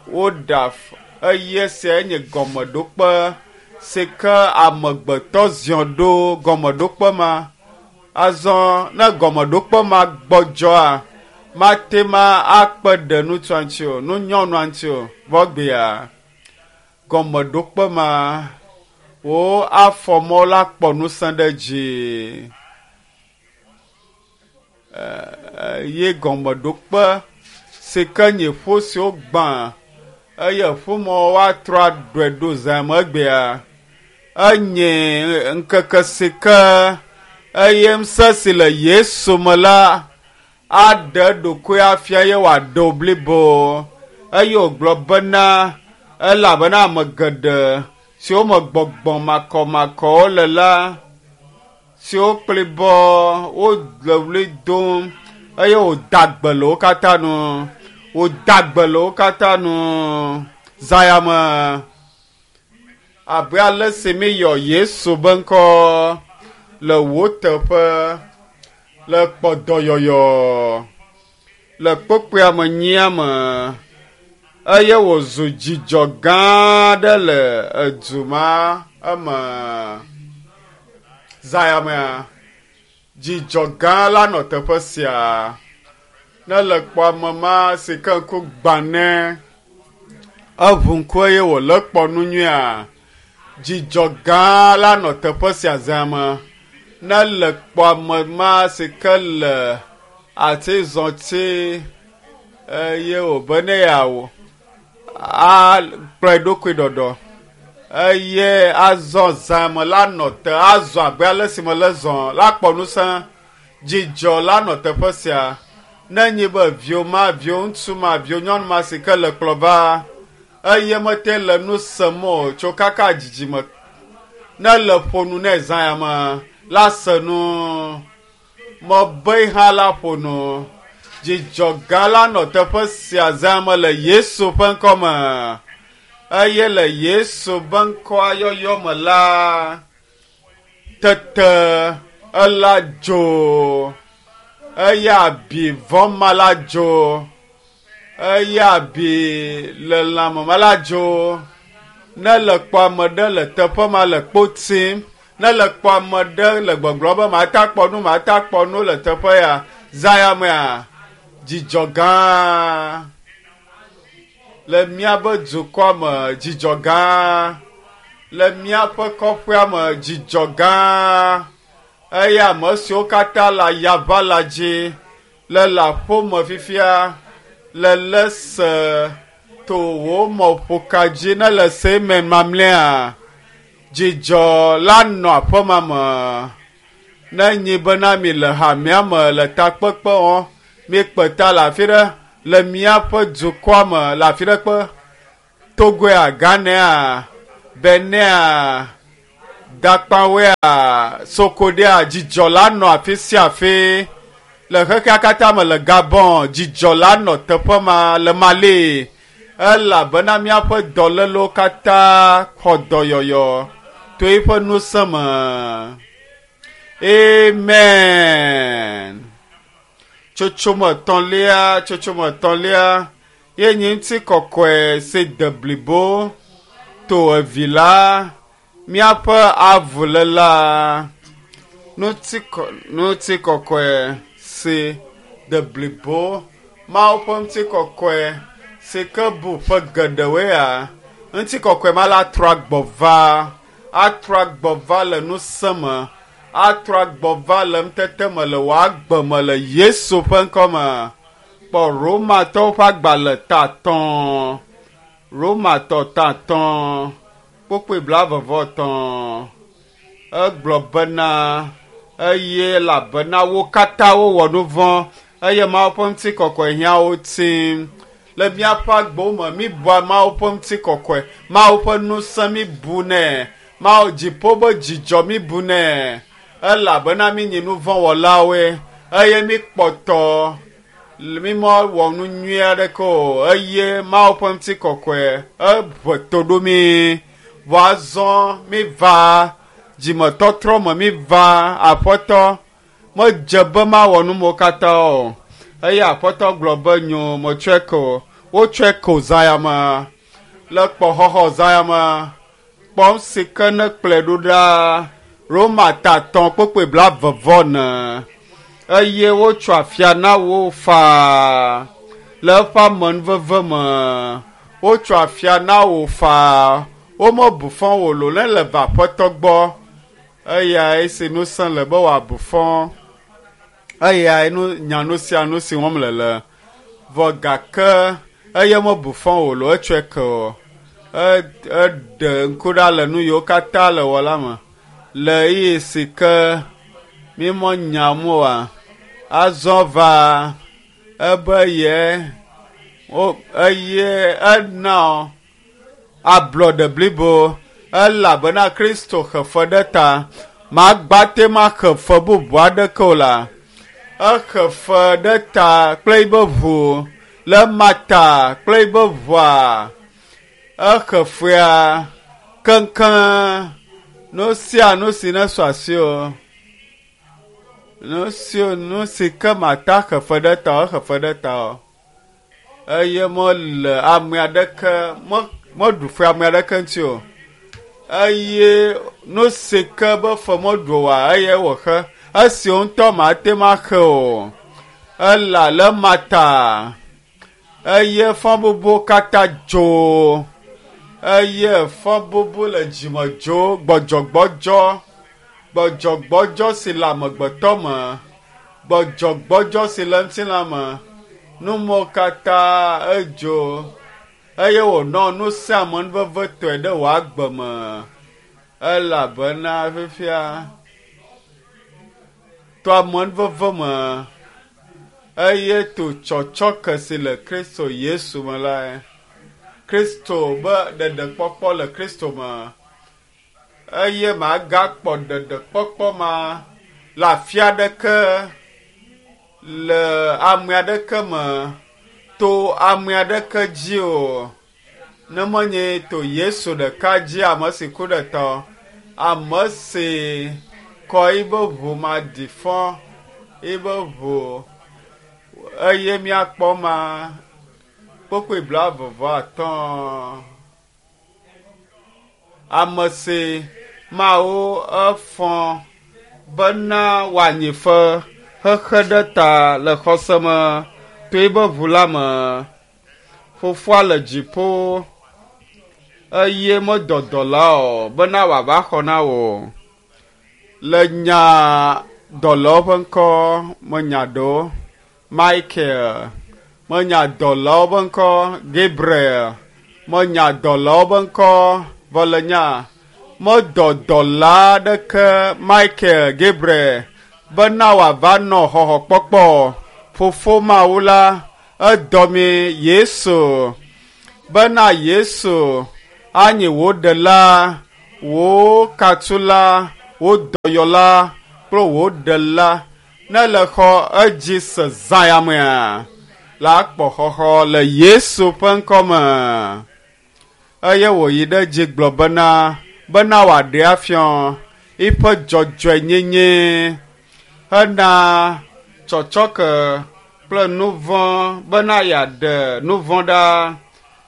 Speaker 1: woɖe afɔ eye sia nye gɔmeɖokpe si ke amegbetɔ ziɔ ɖo gɔmeɖokpe ma azɔ ne gɔmeɖokpe ma gbɔdzɔa mate ma akpe ɖe nutsua ŋuti o nunyɔnua ŋuti o vɔgbea gɔmeɖokpe ma wo afɔmɔ la kpɔ ŋusẽ ɖe dzi ye gɔmeɖokpe si ke nye ƒu siwo gbã eye ƒumɔ woatrɔ aɖɔe ɖo zã me egbea enye ŋkeke si ke eye ŋusẽ si le Yesu me la aɖe eɖokui afia ye wòaɖe wo blibo eye wògblɔ bena elabena ame geɖe siwo me gbɔgbɔ makɔmakɔwo le la siwo kplibɔ wole ɣli dom eye wòda gbe le wo katã nu wòda gbe le wo katã nu zã me abe ale si míyɔ Yesu be ŋkɔ le wò teƒe le kpɔdɔyɔyɔ le kpokpoea me nyia me eye wòzu dzidzɔ gã aɖe le edu ma eme zã ya mea dzidzɔ gã la nɔ teƒe sia ne le kpɔ ame ma si ke ŋku gbã nɛ eʋu ŋku eye wòle kpɔ nu nyuia dzidzɔ gã la nɔ teƒe sia zã me ne le kpɔ ame ma si ke le atizɔti eye wòbe ne yeawɔ akplɔe ɖokui ɖɔɖɔ eye azɔ zã me la nɔ te azɔ abe ale si me le zɔ la kpɔ ŋusẽ dzidzɔ la nɔ teƒe sia ne nyi be viwo ma viwo ŋutsu ma viwo nyɔnu ma si ke le kplɔ va eye mete le nu sem o tso kaka dzidzime ne le ƒo nu nɛ zã ya me la se nu mebe hã la ƒo nu dzidzɔ gã la nɔ teƒe sia zã me le Yesu ƒe ŋkɔme eye le Yesu ƒe ŋkɔa yɔyɔ me la tete ela dzo eye abi vɔ̃ ma la dzo eye abi le lãme ma la dzo ne le kpɔ ame ɖe le teƒe ma le kpo tim ne le kpɔ ame ɖe le gbɔgblɔ be mata kpɔ nu mata kpɔ nu le teƒe ya zã ya mea dzidzɔ gã le míaƒe dukɔa me dzidzɔ gã le míaƒe kɔƒea me dzidzɔ gã eye ame siwo katã le ayaʋa la dzi le le aƒeme fifia le le se to wò mɔƒoka dzi ne le se me mamlɛa dzidzɔ la nɔ aƒema me ne nyi bena mi le hamea me le takpekpe wɔm miekpe ta le afi ɖe le míaƒe dukɔa me le afi ɖe kpe Togoa, Ghanea, Benea, Dakpawea Sokodea dzidzɔ la nɔ afi sia afi le xexea katã me le Gabon dzidzɔ la nɔ teƒe ma le Mali elabena míaƒe dɔlélewo katã xɔ dɔyɔyɔ to eƒe ŋusẽ me. Amen. Tsotsome etɔ̃lia tsotsome etɔ̃lia ye nye ŋutikɔkɔe si de blibo to evi la míaƒe avuléla ŋutikɔkɔe si de blibo Mawu ƒe ŋutikɔkɔe si ke bu ƒe geɖewoea ŋutikɔkɔe ma la atrɔ agbɔ va atrɔ agbɔ va le ŋusẽ me atrɔ agbɔ va le ŋutete me le wò agbe me le Yesu ƒe ŋkɔ me. Kpɔ Romatɔwo ƒe agbalẽ ta atɔ̃ Romatɔ ta atɔ̃ kpukpui blaeve vɔ etɔ̃ egblɔ bena eye elabena wo katã wowɔ nu vɔ̃ eye Mawu ƒe ŋutikɔkɔe hiã wo tim. Le míaƒe agbewo me míbua Mawu ƒe ŋutikɔkɔe, Mawu ƒe ŋusẽ míbunɛ, Mawu dziƒo be dzidzɔ míbunɛ elabena mínyi nu vɔ̃ wɔlawoe eye míkpɔtɔ mímewɔ nu nyui aɖeke o eye Mawu ƒe ŋutikɔkɔe eʋe to ɖo mí. Vɔ azɔ míva dzimetɔtrɔ me míva Aƒetɔ medze be mawɔ nu mawo katã o eye Aƒetɔ gblɔ be nyo metsɔe ke o. Wotsɔe ke o zã ya me le kpɔxɔxɔ zã ya me kpɔm si ke ne kplɔe ɖo ɖa Roma ta atɔ̃ kpukpui blaeve vɔ ene eye wotsɔ afia na wo faa le eƒe amenuveve me wotsɔ afia na wo faa womebu fɔ wò lo ne le va Aƒetɔ gbɔ eyae si ŋusẽ le be wòabu fɔ eyae nu nya nu sia nu si wɔm le le vɔ gake eye mebu fɔ wò lo etsɔe ke o eɖe ŋku ɖa le nu yiwo katã le wɔ la me le ɣeyiɣi si ke mímɔ nyam oa azɔ va ebe ye eye ena ablɔɖe blibo elabena Kristo xe fe ɖe ta magbate maxe fe bubu aɖeke o la exe fe ɖe ta kple eƒe ʋu le mata kple eƒe ʋua exe fea keŋkeŋ nu sia nu si ne sɔ asi o nu si nu si ke mata xe fe ɖe ta o exe fe ɖe ta o eye mele ame aɖeke meɖu fe ame aɖeke ŋuti o eye nu si ke be fe meɖu oa eye wòxe esi ŋutɔ mate maxe o ela le mata eye fɔbubu katã dzo eye fɔbubu le dzime dzo gbɔdzɔgbɔdzɔ gbɔdzɔgbɔdzɔ si le amegbetɔ me gbɔdzɔgbɔdzɔ si le ŋutilã me numawo katã edzo eye wònɔ ŋusẽ amenuvevetɔe ɖe wò agbe me elabena fifia to amenuveve me eye to tsɔtsɔke si le Kristo Yesu me la Kristo be ɖeɖekpɔkpɔ le Kristo me eye magakpɔ ɖeɖekpɔkpɔ ma le afi aɖeke le ame aɖeke me to ame aɖeke dzi o ne menye to Yesu ɖeka dzi ame si ku ɖe ta ame si kɔ eƒe ʋu maɖi fɔ eƒe ʋu eye míakpɔ ma kpukpui blaeve vɔ atɔ̃ ame si Mawu efɔ bena wòanyi fe xexe ɖe ta le xɔse me to eƒe ʋu la me fofoa le dziƒo eye medɔ dɔla o bena wòava xɔ na wò le nya dɔlawo ƒe ŋkɔ menya ɖewo Michael menya dɔlawo ƒe ŋkɔ Gabriel menya dɔlawo ƒe ŋkɔ vɔ le nya medɔ dɔla aɖeke Michael Gabriel bena wòava nɔ xɔxɔkpɔkpɔ fofo Mawu la edɔ mi Yesu bena Yesu anyi wò ɖela Wò katula, wò dɔyɔla kple wò ɖela ne le xɔ edzi se zã ya mea, la kpɔ xɔxɔ le Yesu ƒe ŋkɔme. Eye wòyi ɖe edzi gblɔ bena bena wòaɖe afiɔ eƒe dzɔdzɔenyenye hena tsɔtsɔke kple nu vɔ̃ bena yeaɖe nu vɔ̃ ɖa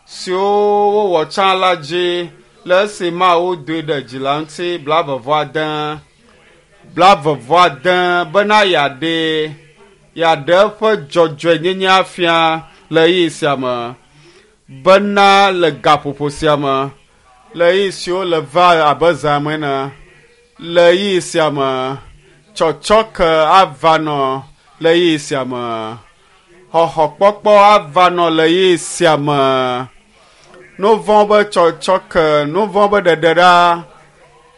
Speaker 1: siwo wowɔ tsã la dzi le esi Mawu doe ɖe dzi la ŋuti blaeve-vɔ-ade blaeve-vɔ-ade bena yeaɖe yeaɖe eƒe dzɔdzɔenyenye afia le ɣeyiɣi sia me bena le gaƒoƒo sia me le ɣeyiɣi siwo le va abe zã me ene le ɣeyiɣi sia me tsɔtsɔke ava nɔ le ɣeyiɣi sia me xɔxɔkpɔkpɔ ava nɔ le ɣeyiɣi sia me nu vɔ̃ be tsɔtsɔke nu vɔ̃ be ɖeɖeɖa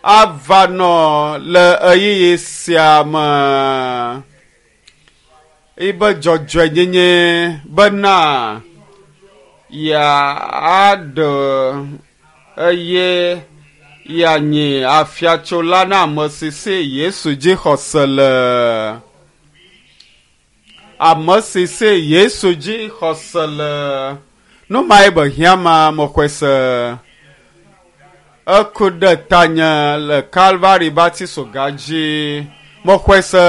Speaker 1: ava nɔ le ɣeyiɣi sia me ebe dzɔdzɔenyenye bena yeaɖe eye yeanyi afiatsola na ame si si Yesu dzi xɔse le. Ame si si Yesu dzi xɔse le. Nu mae be hiã ma mexɔe se. Eku ɖe tanye le Kalvari batisoga dzi. Mexɔe se.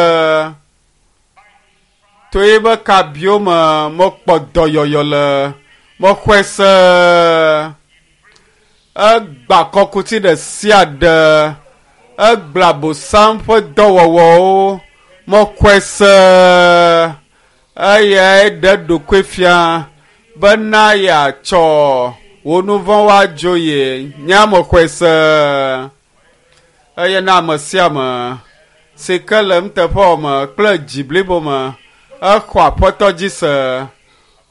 Speaker 1: To ebe kabiwo me mekpɔ dɔyɔyɔ le. Mexɔe se. Egba kɔkuti ɖe sia ɖe. Egblẽ Abosam ƒe dɔwɔwɔwo. Mexɔe se. Eyae ɖe ɖokui fia bena yeatsɔ wò nu vɔ̃wo adzo ye. Nye mexɔe se. Eye na ame sia ame si ke le nuteƒewɔwɔ me kple dzi blibo me exɔ Aƒetɔ dzi se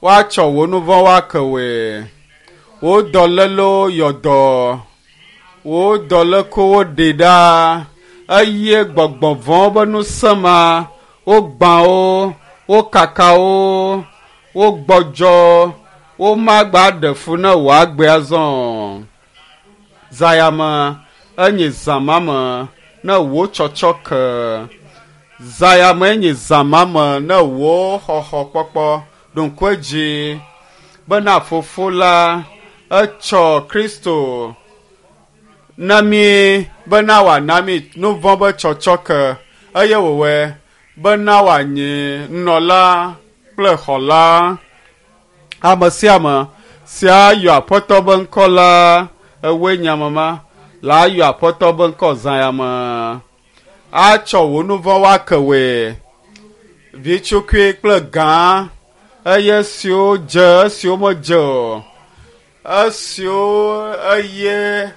Speaker 1: woatsɔ wò nu vɔ̃wo ake wòe. Wò dɔlélewo yɔ dɔ, wò dɔlékuiwo ɖi ɖa eye gbɔgbɔ vɔ̃wo be ŋusẽ ma wogbã wo, wokaka wo, wogbɔdzɔ, womagba ɖe fu ne wò agbe azɔ o. Zã ya me enye zã ma me ne wò tsɔtsɔke. Zã ya me enye zã ma me ne wò xɔxɔkpɔkpɔ ɖo ŋku edzi bena Fofo la etsɔ Kristo na mí bena wòana mí nu vɔ̃ be tsɔtsɔke eye wòwɔe bena wòanyi nunɔla kple xɔla. Ame sia ame si ayɔ Aƒetɔ be ŋkɔ la ewoe nye ame ma la ayɔ Aƒetɔ be ŋkɔ zã ya me. Atsɔ wò nu vɔ̃wo ake wòe. Vitsukui kple gã eye esiwo dze esiwo medze o esiwo eye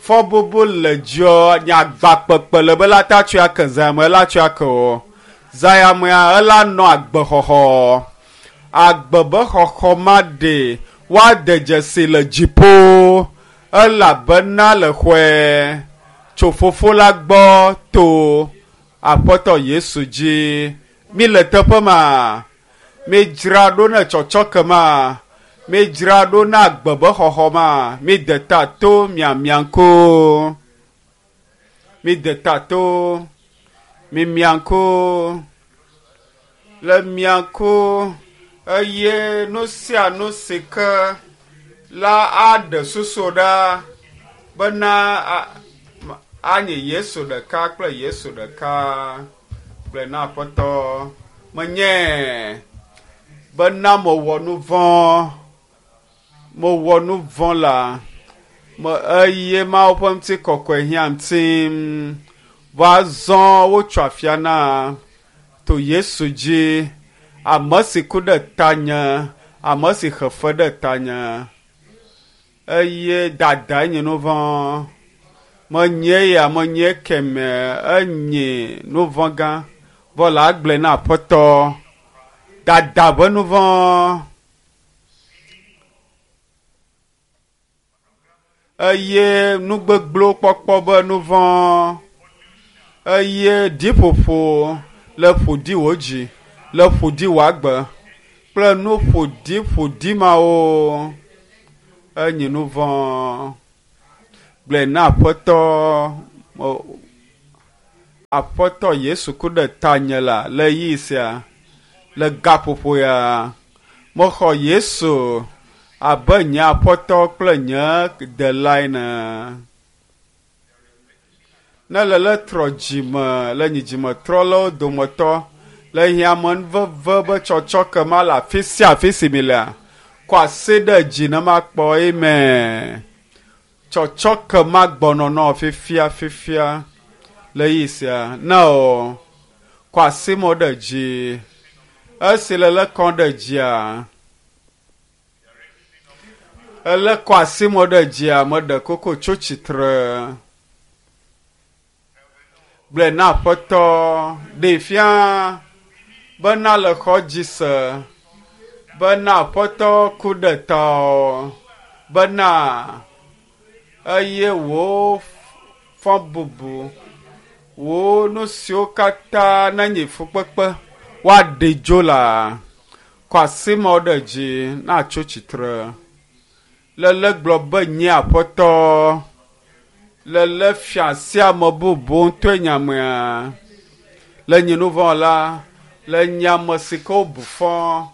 Speaker 1: fɔbubu le dziɔ nye agba kpekpe le be la ta tsɔe ake zã ya me la tsɔe ake o. Zã ya mea ela nɔ agbexɔxɔ. Agbe be xɔxɔ ma ɖe woade dzesi le dziƒo elabena le xɔe tso Fofo la gbɔ to Aƒetɔ Yesu dzi. Mi le teƒe ma, midzra ɖo ne tsɔtsɔke ma, midzra ɖo na agbe be xɔxɔ ma, mide ta to miamia ŋku. Mide ta to mimia ŋku. Le mia ŋku eye nu sia nu si ke la aɖe susu ɖa bena anyi Yesu ɖeka kple Yesu ɖeka gblɔe na Aƒetɔ. Menye bena mewɔ nu vɔ̃, mewɔ nu vɔ̃ la me eye Mawu ƒe ŋutikɔkɔe hiã ŋutim. Vɔ azɔ wotsɔ afia na to Yesu dzi, ame si ku ɖe tanye, ame si xe fe ɖe tanye eye dadae nye nu vɔ̃. Menye ya menye keme enye nu vɔ̃ gã. Vɔ la agblɔe na Aƒetɔ dada ƒe nu vɔ̃. Eye nu gbegblẽwo kpɔkpɔ be nu vɔ̃. Eye ɖiƒoƒo le ƒoɖi wò dzi, le ƒoɖi wò agbe kple nu ƒoɖiƒoɖi mawo enye nu vɔ̃. Gblɔe na Aƒetɔ, Aƒetɔ Yesu ku ɖe tanye la le ɣeyiɣi sia, le gaƒoƒo ya. Mexɔ Yesu abe nye Aƒetɔ kple nye Ɖela ene. Ne le le trɔ dzime le nye dzimetrɔlawo dometɔ le hiãmenuveve be tsɔtsɔke ma le afi sia afi si mi lea, kɔ asi ɖe dzi ne makpɔ amen. Tsɔtsɔke ma gbɔnɔnɔ fifia fifia le ɣeyiɣi sia. Ne o, kɔ asi mɔ ɖe dzi. Esi le le kɔm ɖe dzia, ele kɔ asi mɔ ɖe dzia, meɖe koko tso tsitre. Gblɔe na Aƒetɔ, ɖee fia bena le xɔ dzi se, bena Aƒetɔ ku ɖe tawò, bena eye wò fɔbubu, wò nu siwo katã nenye fukpekpe woaɖe dzo la, kɔ asi mɔ ɖe dzi natso tsitre. Lele gblɔ be nye Aƒetɔ, lele fia sia ame bubu ŋutɔe nye amea. Le nye nu vɔ̃ la, le nye ame si ke wobu fɔ,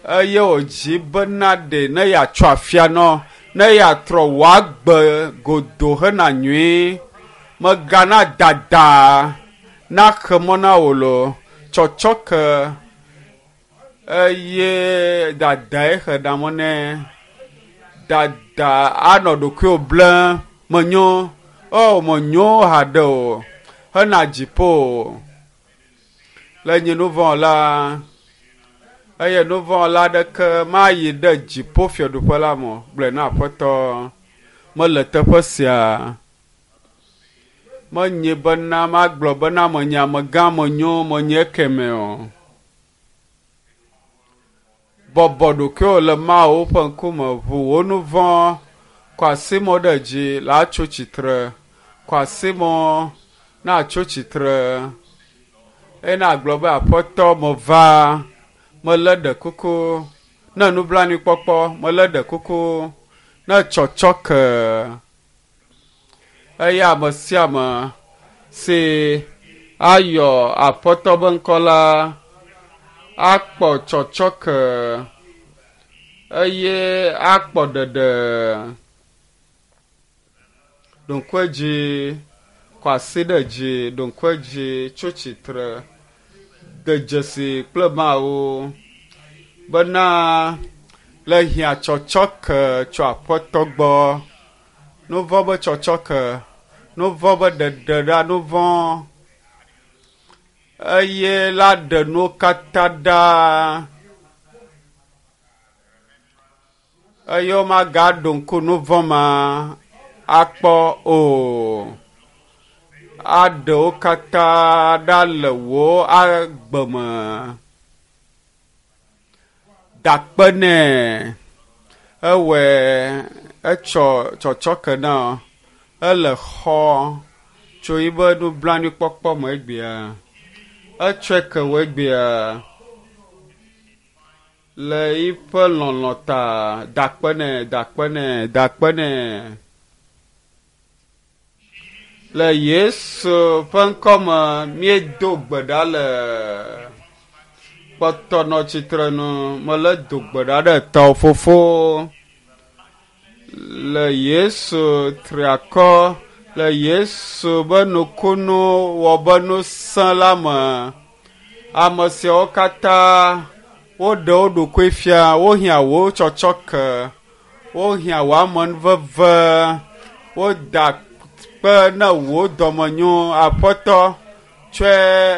Speaker 1: eye wòdzi bena ɖe ne yeatsɔ afia nɔ, ne yeatrɔ wò agbe godo hena nyui. Megana dada naxe mɔ na wò lo, tsɔtsɔke eye dadae xe ɖa mɔ nɛ. Dada anɔ ɖokuiwò blem, menyo, o menyo haɖe o, hena dziƒo. Le nye nu vɔ̃ la, eye nu vɔ̃ la ɖeke mayi ɖe dziƒo fiaɖuƒe la me o. Gblɔe na Aƒetɔ, mele teƒe sia. Menye bena magblɔ bena menye amegã, menyo, menye ekeme o. Bɔbɔ ɖokuiwò le Mawu ƒe ŋkume, ʋu wò nu vɔ̃, kɔ asi mɔ ɖe dzi la tso tsitre. Kɔ asi mɔ natso tsitre. Eye nagblɔ be Aƒetɔ meva, melé ɖe kuku, ne nublanuikpɔkpɔ, melé ɖe kuku, ne tsɔtsɔke. Eye ame sia ame si ayɔ Aƒetɔ be ŋkɔ la akpɔ tsɔtsɔke eye akpɔ ɖeɖe. Ɖo ŋku edzi, kɔ asi ɖe dzi, ɖo ŋku edzi, tso tsitre, de dzesi kple Mawu bena le hiã tsɔtsɔke tso Aƒetɔ gbɔ. Nu vɔ̃ be tsɔtsɔke, nu vɔ̃ be ɖeɖe ɖa nu vɔ̃ eye la ɖe nuwo katã ɖa. Eye womagaɖo ŋku nu vɔ̃ ma akpɔ o. Aɖe wo katã ɖa le wò agbe me. Da akpe nɛ. Ewɔe etsɔ tsɔtsɔke na ele xɔ tso yibe nublanuikpɔkpɔ me egbea. Etsɔe ke wò egbea. Le yiƒe lɔlɔ̃ ta, da akpe nɛ, da akpe nɛ, da akpe nɛ. Le Yesu ƒe ŋkɔme míedo gbe ɖa le kpɔtɔ nɔ tsitre nu. Mele do gbe ɖa ɖe tɔwò fofo. Le Yesu triakɔ, le Yesu be nukunu wɔ be ŋusẽ la me. Ame siawo katã woɖe wo ɖokui fia, wohiã wò tsɔtsɔke, wohiã wò amenuveve, woda kpe ne wò dɔmenyo. Aƒetɔ, tsɔe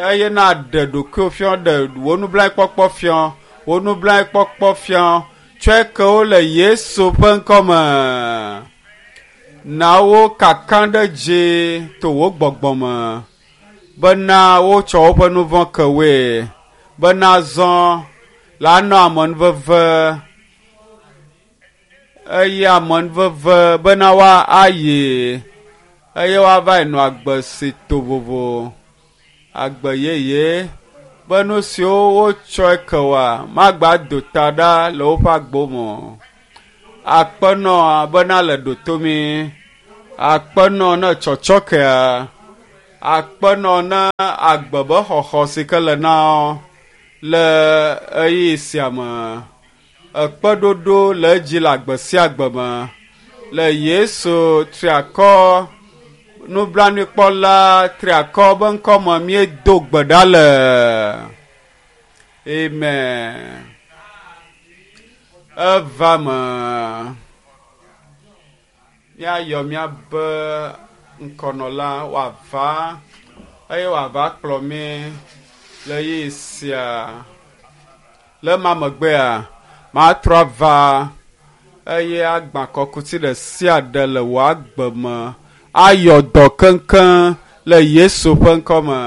Speaker 1: eye naɖe ɖokuiwò fia, ɖe wò nublanuikpɔkpɔ fia, wò nublanuikpɔkpɔ fia. Tsɔe ke wo le Yesu ƒe ŋkɔme. Na wo kaka ɖe dzi to wò gbɔgbɔ me bena wotsɔ woƒe nu vɔ̃ ke woe, bena zɔ la nɔ amenuveve eye amenuveve bena woayi eye woava nɔ agbe si to vovo, agbe yeye be nu siwo wotsɔe ke woa magba do ta ɖa le woƒe agbo me o. Akpe nɔ bena le ɖotomi. Akpenɔ ne tsɔtsɔkea. Akpenɔ ne agbe be xɔxɔ si ke le na wo le ɣeyiɣi sia me. Ekpeɖoɖo le edzi le agbe sia agbe me. Le Yesu triakɔ nublanuikpɔla triakɔ be ŋkɔme míedo gbe ɖa le. Amen. Eva me. Míayɔ míabe ŋkɔnɔla wòava eye wòava kplɔ mí le ɣeyiɣi sia. Le ema megbea, matrɔ ava eye agbã kɔkuti ɖe sia ɖe le wò agbe me ayɔ dɔ keŋkeŋ le Yesu ƒe ŋkɔme.